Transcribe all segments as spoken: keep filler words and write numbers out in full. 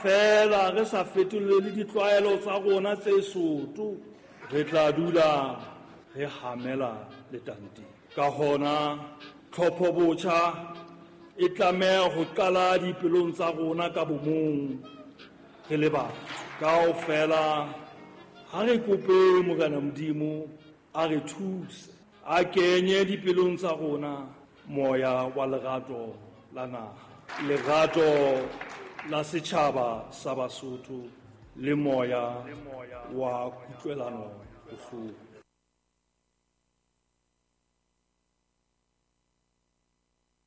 Feela re sa fetolele ditlwaelo tsa rona tse soto, re tla dula re hamela letanteng. Ka hona tlhopho botjha e tlameha ho qala dipelong tsa rona ka bomong re le batho. Kaofela ha re kope Morena Modimo a re thuse, a kenye dipelong tsa rona moya wa lerato la naha, lerato la setjhaba sa Basotho le moya wa kutlwelano bohloko.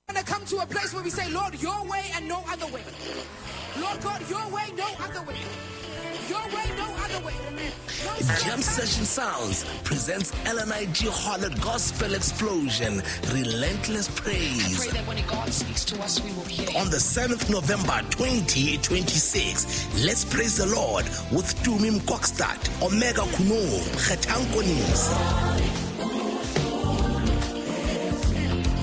To come to a place where we say, Lord, your way and no other way. Lord God, your way, no other way. Your way, no other way. No Jam Session Sounds presents L N I G Harlot Gospel Explosion, Relentless Praise. I pray that when God speaks to us, we will hear. On the seventh of November twenty twenty-six, let's praise the Lord with Tumi Mkokstad, Omega Kuno, Kgethankonis,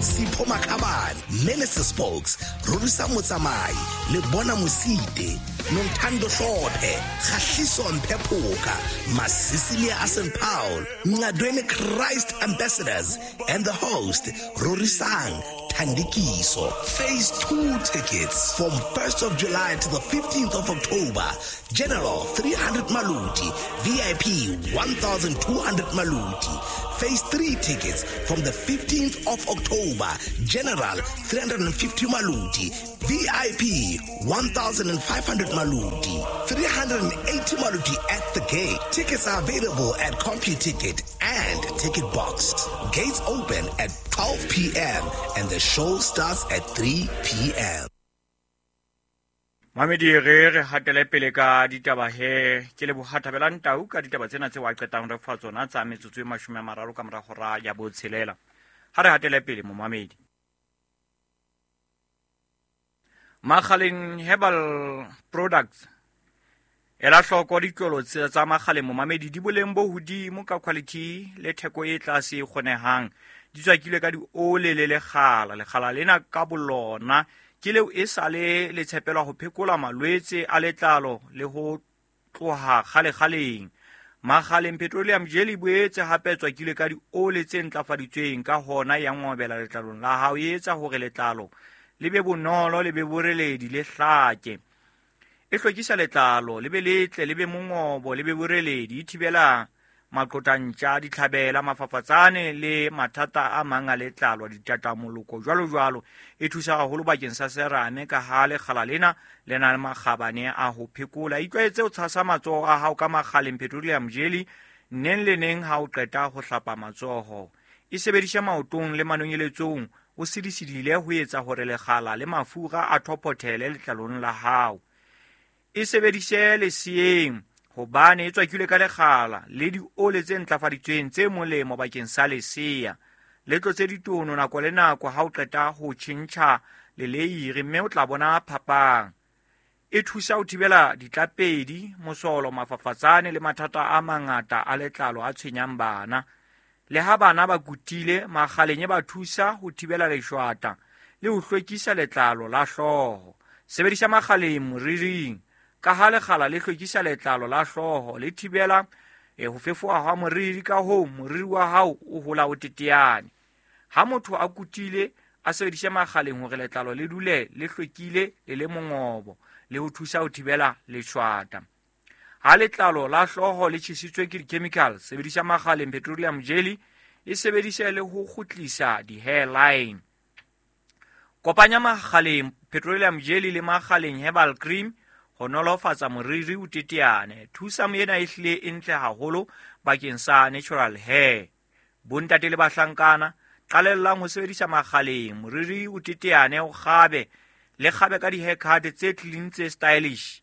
Sipho Makhabane, Minister Spokes, Rorisa Motsamai, Lebona Mosite, Nontando Hlophe, Kgahliso Mpephoka, Masisilia Asen Paul, Ngadweni Christ Ambassadors, and the host, Rorisang Thandikiso. Phase two tickets from first of July to the fifteenth of October. General three hundred Maluti, V I P one thousand two hundred Maluti. Phase three tickets from the fifteenth of October. General three hundred fifty Maluti, V I P one thousand five hundred Maluti, three hundred eighty Maluti at the gate. Tickets are available at CompuTicket and Ticket Box. Gates open at twelve p.m. and the show starts at three p.m. Mamedi re re hatele pele ka ditaba he ke le bohathabela ntau ka ditaba tsena tse wa qetang re fa tsona tsa metsotso e mashome a mararo ka mora hora ya botshelela. Ha re hatele pele momamedi. Makgaleng Herbal Products ela hloko ditlolo tsa Makgaleng momamedi di boleng bo hodimo ka quality le theko e tlase e kgonehang. Di tswakilwe ka diole le lekgala. Lekgala lena ka bolona ke leo e sale le tshepelwa ho phekola malwetse a letlalo le ho tloha kgalekgaleng. Makgaleng Petroleum Jelly boetse hape tswakilwe ka diole tse ntlafaditsweng, ka hona ya ngobela letlalong la hao, e etsa hore letlalo le be bonolo, le be boreledi, le hlake. E hlwekisa letlalo le be letle, le be mongobo, le be boreledi, e thibela maqotantja, ditlhabela, mafafatsane le mathata a mang a letlalo, ditatamoloko jwalo jwalo. E thusa haholo bakeng sa serame ka ha lekgala lena le na le makgabane a ho phekola. Itlwaetse ho tshasa matsoho a hao ka Makgaleng Petroleum Jelly neng le neng ha o qeta ho hlapa matsoho. E sebedisha maotong le manonyeletsong o sidisidile ho etsa hore lekgala le mafura a thophothele letlalong la hao. E sebedise leseyeng hobane e tswakilwe ka lekgala le diole tse ntlafaditsweng tse molemo bakeng sa lesea. Le tlotse ditono nako le nako ha o qeta ho tjhentjha leleiri, mme o tla bona phapang. E thusa ho thibela ditlapedi, mosolo, mafafatsane le mathata a mangata a letlalo a tshwenyang bana. Le ha bana ba kutile, Makgaleng e ba thusa ho thibela leshwata le ho hlwekisa letlalo la hlooho. Sebedisa Makgaleng moriring ka ha lekgala le hlwekisa letlalo la hlooho, le thibela e ho fefoha ha moriri, ka hoo moriri wa hao o hola o teteane. Ha motho a kutile, a sebedise Makgaleng hore letlalo le dule le hlwekile le le mongobo le ho thusa ho thibela leshwata. Ha letlalo la hlooho le tjhesitswe ke di-chemical, sebedisa Makgaleng Petroleum Jelly, e sebedise le ho kgutlisa di-hairline. Kopanya Makgaleng Petroleum Jelly le Makgaleng Herbal Cream ho nolofatsa moriri o teteane. Thusa ena e hlile e ntle haholo bakeng sa natural hair. Bontate le bahlankana, qalellang ho sebedisa Makgaleng moriri o teteane, o kgabe le kgabe ka di-haircut tse clean tse stylish.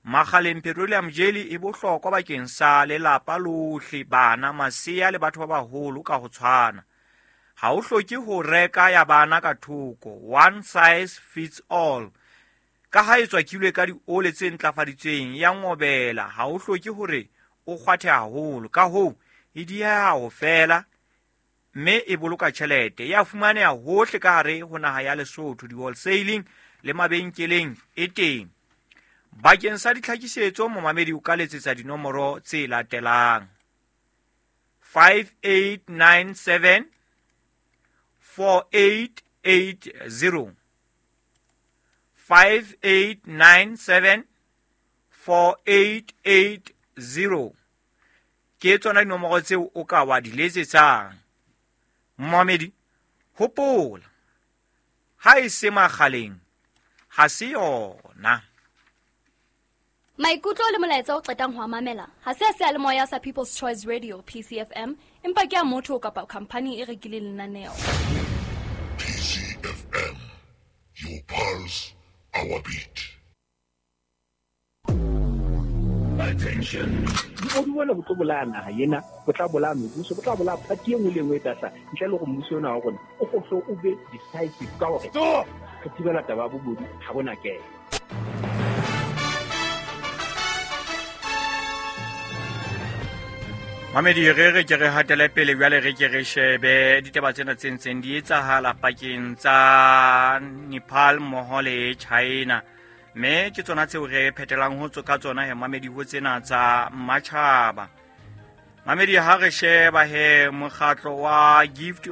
Makgaleng Petroleum Jelly e bohlokwa bakeng sa lelapa lohle, bana, masea le batho ba baholo ka ho tshwana. Ha o hloke ho reka ya bana ka thoko, one size fits all. Ka ha e tswakilwe ka diole tse ntlafaditsweng ya ngobela, ha o hloke hore o kgwathe haholo, ka hoo e dieha ho fela mme e boloka tjhelete. Ya fumaneha hohle ka hare ho naha ya Lesotho, di-wholesaling le mabenkeleng e teng. Bakeng sa ditlhakisetso momamedi o ka letsetsa dinomoro tse latelang: five eight nine seven four eight eight zero, five eight nine seven four eight eight zero. Ke tsona dinomoro tseo o ka wa di letsetsang. Momamedi, hopola, ha e se makgaleng ha se yona. Maikutlo le molaetsa o qetang ho mamela ha se a seyalemoya sa People's Choice Radio P C F M, empa ke a motho kapa company e rekileng lenaneo. P C F M, your pulse, our beat. Attention. Di bona bo tlo bolaya naha ena, bo tla bolaya mebuso, bo tla bolaya party e nngwe le nngwe e tla ntle le gore mmuso ona wa rona o gohle o be decisive ka hore re thibela taba ya bobodu ha bona kelo. Mamedi, re re ke re hatele pele jwale re ke re shebe ditaba tsena tse ntseng di etsahala pakeng tsa Nepal mmoho le China. Mme ke tsona tseo re phetelang ho ka tsona he mamedi ho tsena tsa matjhaba. Mamedi, ha re sheba he mokgatlo wa Gift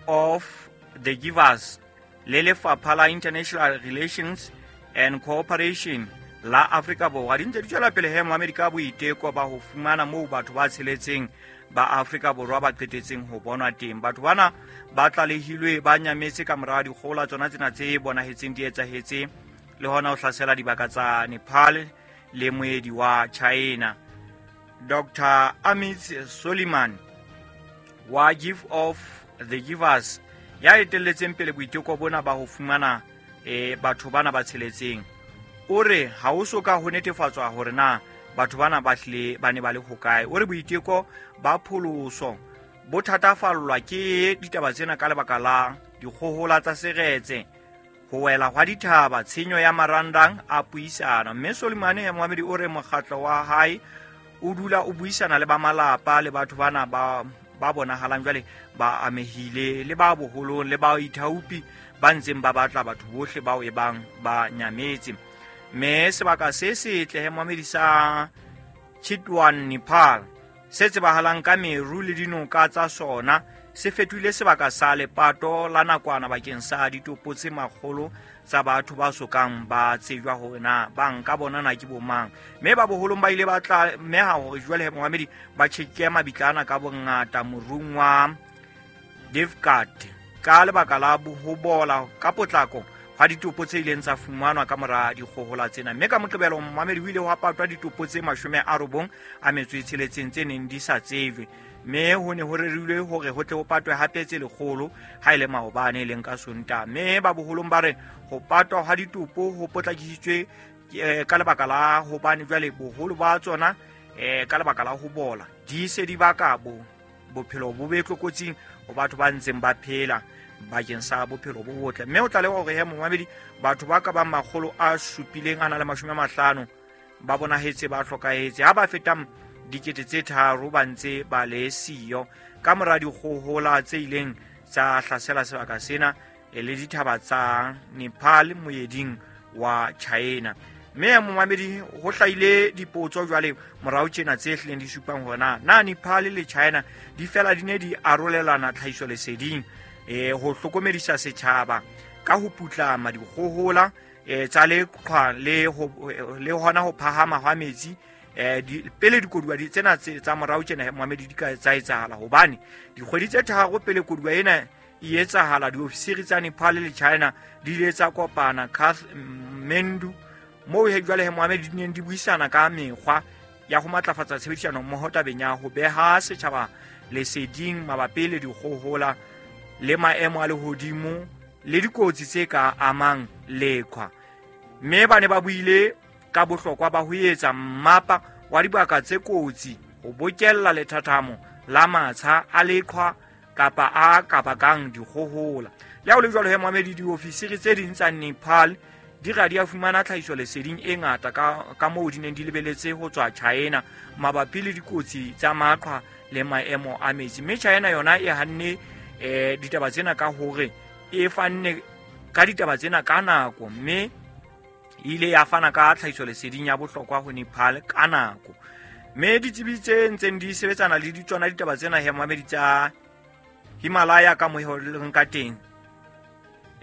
of the Givers le Lefapha la International Relations and Cooperation la Afrika Borwa di ntse di tswela pele he mamedi ka boiteko ba ho fumana moo batho ba tsheletseng ba Afrika Borwa ba qetetseng ho bonwa teng. Batho bana ba tlalehilwe ba nyametse ka mora dikgola tsona tsena tse bonahetseng di etsahetse le hona ho hlasela dibaka tsa Nepal le moedi wa China. Doctor Amit Soliman wa Gift of the Givers ya etelletseng pele boiteko bona ba ho fumana eh batho bana ba tsheletseng o re ha ho so ka ho netefatswa hore na batho bana ba hlile ba ne ba le hokae. O re boiteko ba pholoso bo thatafallwa ke ditaba tsena ka lebaka la dikgohola tsa seretse, ho wela hwa dithaba, tshenyo ya marandang a puisano. Mme Solimane ya Mohamedi o re mokgatlo wa hae o dula o buisana le ba malapa le batho bana ba ba bonahalang jwale ba amehile le ba boholong le ba ithaopi ba ntseng ba batla batho bohle bao e bang ba nyametse. Mme sebaka se setle he Mohamedi sa Chitwan Nepal se tsebahalang ka meru le dinoka tsa sona se fetohile sebaka sa lepato la nakwana bakeng sa ditopo tse makgolo tsa batho ba sokang ba tsejwa hore na ba nka bona na ke bomang. Mme ba boholong ba ile ba tlameha hore jwale Mohamedi ba tjheke mabitlana ka bongata morung wa Devkat ka lebaka la ho bola ka potlako ha ditopo tse ileng tsa fumanwa ka mora dikgohola tsena. Mme ka Moqebelo Mohamedi o ile wa patwa ditopo tse mashome a robong a metso e tsheletseng tse neng di sa tsejwe. Mme ho ne ho rerilwe hore ho tle ho patwe hape tse lekgolo ha ile maobane e leng ka Sontaha. Mme ba boholong ba re ho patwa ha ditopo ho potlakisitswe ka lebaka la hobane jwale boholo ba tsona eh ka lebaka la ho bola di se di baka bo bophelo bo be tlokotsing ho batho ba ntseng ba phela bakeng sa bophelo bo botle. Mme o tlaleha hore he Mohamedi batho ba ka bang makgolo a supileng a na le mashome a mahlano ba bonahetse ba hlokahetse ha ba fetang dikete tse tharo ba ntse ba le siyo ka mora dikgohola tse ileng tsa hlasela sebaka sena e le dithaba tsa Nepal moeding wa China. Mme Mohamedi ho hlahile dipotso jwale morao tjena tse hlileng di supang hore na na Nepal le China di fela di ne di arolelana tlhahiso leseding eh ho hlokomedisa setjhaba ka ho putlama dikgohola eh tsa leqhwa le ho le hona ho phahama hwa metsi eh pele dikoduwa di tsena tsa morao tjena Mohamedi di ka tsa etsahala hobane dikgwedi tse tharo pele koduwa ena e etsahala diofisiri tsa Nepal le China di ile tsa kopana Kathmandu moo he jwale he Mohamedi di neng di buisana ka mekgwa ya ho matlafatsa tshebedisano mmoho tabeng ya ho beha setjhaba leseding mabapi le dikgohola le maemo a lehodimo le dikotsi tse ka amang leqhwa. Mme ba ne ba buile ka bohlokwa ba ho etsa mmapa wa dibaka tse kotsi ho bokella lethathamo la matsha a leqhwa kapa a ka bakang dikgohola. Le ha ho le jwalo he Mohamedi diofisiri tse ding tsa Nepal di ra di a fumana tlhahiso leseding e ngata ka ka moo di neng di lebeletse ho tswa China mabapi le dikotsi tsa maqhwa le maemo a metsi. Mme China yona e hanne eh ditaba tsena ka hore e fanne ka ditaba tsena ka nako mme ile ya fana ka tlhahisoleseding ya bohlokwa ho Nepal ka nako. Mme ditsebi tse ntseng di sebetsana le ditsona ditaba tsena he momamedi tsa Himalaya ka moo ho leng ka teng,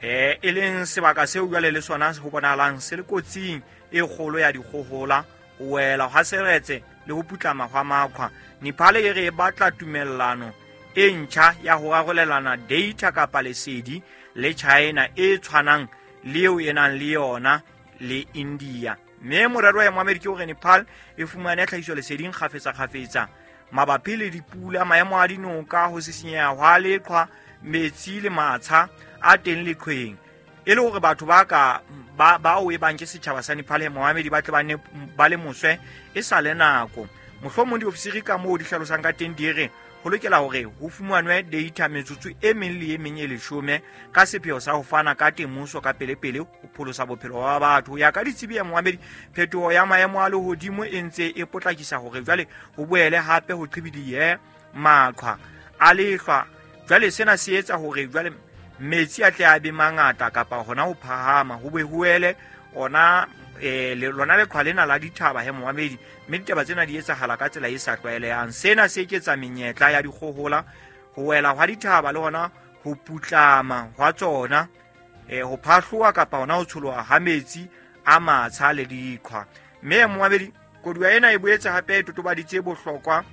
eh e leng sebaka seo jwale le sona ho bonahalang se le kotsing e kgolo ya dikgohola, ho wela hwa seretse le ho putlama hwa makhwa. Nepal e re e batla tumellano e ntjha ya ho arolelana data kapa lesedi le China e tshwanang le eo e nang le yona le India. Mme morero ya Moamedi ke hore Nepal e fumane tlhahisoleseding kgafetsa-kgafetsa mabapi le dipula, maemo a dinoka, ho sisinyeha hwa leqhwa, metsi le matsha a teng leqhweng, e le hore batho ba ka ba bao e bang ke setjhaba sa Nepal he Moamedi ba tle ba ne ba le moswe e sa le nako. Mohlomong diofisiri ka moo di hlalosang ka teng di re ho lokela hore ho fumanwe data metsotso e meng le e meng e leshome ka sepheo sa ho fana ka temoso ka pelepele ho pholosa bophelo ba batho. Ho ya ka ditsebi ya Moamedi, phetoho ya maemo a lehodimo e ntse e potlakisa hore jwale ho boele hape ho qhibidihe maqhwa a lehlwa. Jwale sena se etsa hore jwale metsi a tle a be mangata kapa hona ho phahama, ho be ho ele ona eh le lona leqhwa lena la dithaba he Moamedi. Mme ditaba tsena di etsahala ka tsela e sa tlwaelehang. Sena se eketsa menyetla ya dikgohola, ho wela hwa dithaba le hona ho putlama hwa tsona, eh ho phahloha kapa hona ho tsholoha ha metsi a matsha le diqhwa. Mme Moamedi, koduwa ena e boetse hape e totobaditse bohlokwa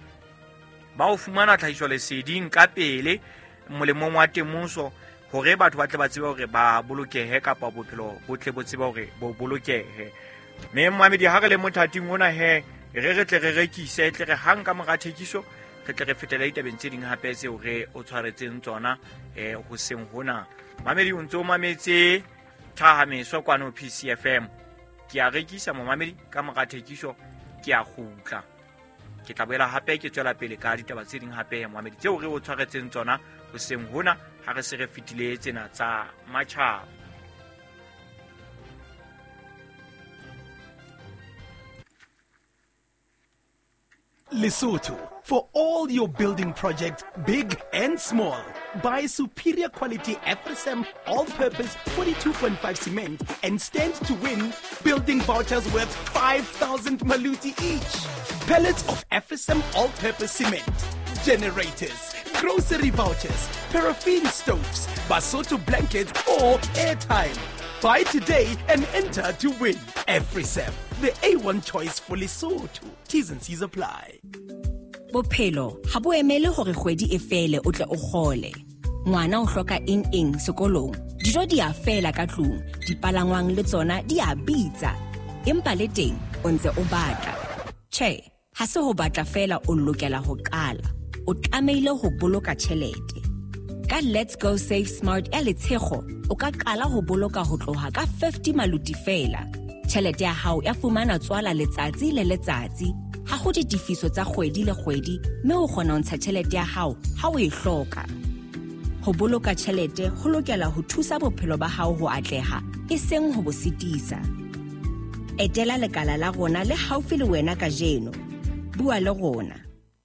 ba ho fumana tlhahisoleseding ka pele molemong wa temoso, hore batho ba tle ba tsebe hore ba bolokehe kapa bophelo bo tle bo tsebe hore bo bolokehe. Mme Moamedi, ha re le mothating ona he re re tle re rekise, tle re hang ka mora thekiso re tle re fetele ditabeng tse ding hape tseo re o tshwaretseng tsona eh hoseng hona. Mamedi, o ntse o mametse Thahameso kwano P C F M. Ke a rekisa momamedi, ka mora thekiso ke a kgutla. Ke tla boela hape ke tswela pele ka ditaba tse ding hape momamedi tseo re o tshwaretseng tsona hoseng hona ha re se re fetile tsena tsa matjhaba. Lesotho, for all your building projects, big and small. Buy superior quality Afrisam all-purpose forty-two point five cement and stand to win building vouchers worth five thousand maluti each. Pellets of Afrisam all-purpose cement, generators, grocery vouchers, paraffin stoves, Basotho blankets or airtime. Buy today and enter to win. Afrisam, the A one choice for Lesotho. T's and C's apply. Bophelo ha bo emele hore kgwedi e fele o tle o kgole. Ngwana o hloka eng eng sekolong, dijo di a fela ka tlung, dipalangwang le tsona di a bitsa. Empa le teng o ntse o batla. Tjhe, ha se ho batla fela o lokela ho qala. O tlamehile ho boloka tjhelete. Ka Let's Go Save Smart ya Letshego, o ka qala ho boloka ho tloha ka fifty maluti fela. Tjhelete ya hao ya fumana tswala letsatsi le letsatsi. Ha ho ditefiso tsa kgwedi le kgwedi, mme o kgona ho ntsha tjhelete ya hao ha o e hloka. Ho boloka tjhelete ho lokela ho thusa bophelo ba hao ho atleha, e seng ho bo sitisa. Etela lekala la rona le haufi le wena kajeno. Bua le rona.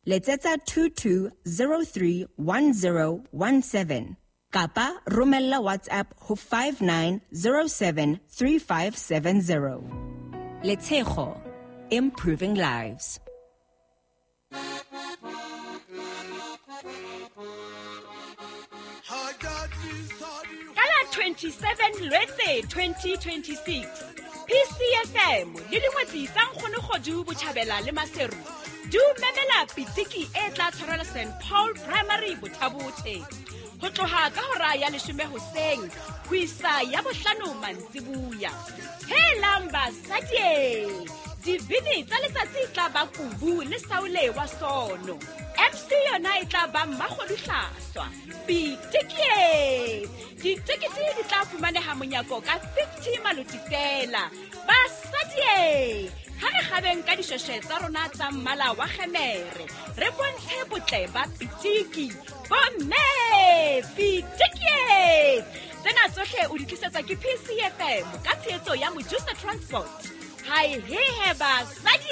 Letsetsa two two zero three one zero one seven kapa romella WhatsApp ho five nine zero seven three five seven zero. Letshego, improving lives. Kala twenty-seven Lwetse twenty twenty-six, P C F M le dingwetsi tsa Nkgono Botjhabela le Maseru di o memela pitiki e tla tshwarelwa Saint Paul Primary Bothabothe ho tloha ka hora ya leshome hoseng ho isa ya bohlano mantsibuya. Helang basadi, dibini tsa letsatsi tla ba kubu le saule wa sono. M C yona e tla ba Mmakgodu Hlaswa. Pitiki! Ditekete di tla fumaneha monyako ka fifty maluti fela. Basadi, ha re kgabeng ka dishweshwe tsa rona tsa mmala wa kgemere, re bontshe botle ba pitiki. Bomme, pitiki! Tsena tsohle o di tlisetsa ke P C F M ka tshehetso ya Mojusa Transport. Hai he he basadi!